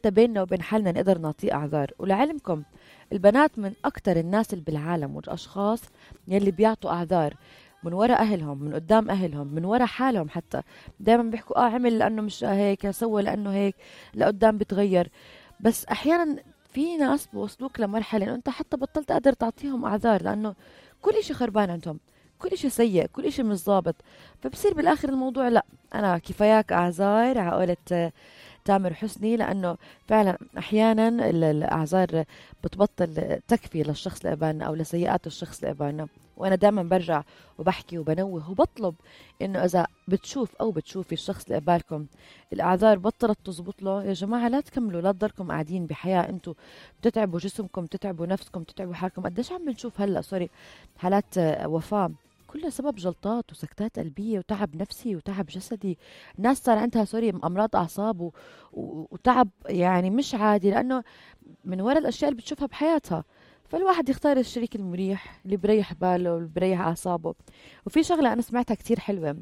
حتى بيننا وبين حالنا نقدر نعطيه أعذار. ولعلمكم البنات من أكتر الناس اللي بالعالم والأشخاص يلي بيعطوا أعذار من وراء أهلهم، من قدام أهلهم، من وراء حالهم. حتى دايما بيحكوا عمل لأنه مش هيك، سوى لأنه هيك، لقدام بتغير. بس أحيانا في ناس بوصلوك لمرحلة إنه أنت حتى بطلت قادر تعطيهم أعذار، لأنه كل إشي خربان عندهم، كل إشي سيء، كل إشي مش ظابط. فبصير بالآخر الموضوع لا، أنا كفاياك أعذار عقولة تامر حسني، لأنه فعلا أحيانا الأعذار بتبطل تكفي للشخص اللي قبالنا أو لسيئات الشخص اللي قبالنا. وأنا دائما برجع وبحكي وبنوه وبطلب إنه إذا بتشوف أو بتشوفي الشخص اللي قبالكم الأعذار بطلت تزبط له، يا جماعة لا تكملوا، لا تضلكم قاعدين بحياة أنتوا بتتعبوا جسمكم، بتتعبوا نفسكم، بتتعبوا حالكم. قديش عم بنشوف هلأ حالات وفاة كلها سبب جلطات وسكتات قلبية وتعب نفسي وتعب جسدي. ناس صار عندها أمراض أعصاب وتعب يعني مش عادي، لأنه من وراء الأشياء اللي بتشوفها بحياتها. فالواحد يختار الشريك المريح اللي بريح باله واللي بريح أعصابه. وفي شغلة أنا سمعتها كتير حلوة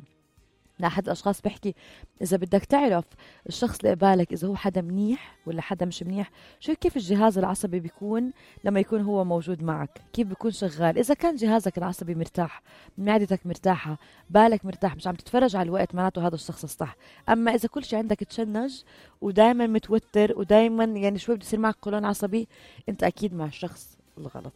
لأحد الأشخاص بيحكي إذا بدك تعرف الشخص اللي قبالك إذا هو حدا منيح ولا حدا مش منيح، شوف كيف الجهاز العصبي بيكون لما يكون هو موجود معك، كيف بيكون شغال. إذا كان جهازك العصبي مرتاح، معدتك مرتاحة، بالك مرتاح، مش عم تتفرج على الوقت، معناته هذا الشخص الصح. أما إذا كل شيء عندك تشنج ودايما متوتر ودايما يعني شوي بده يصير معك قولون عصبي، أنت أكيد مع الشخص الغلط.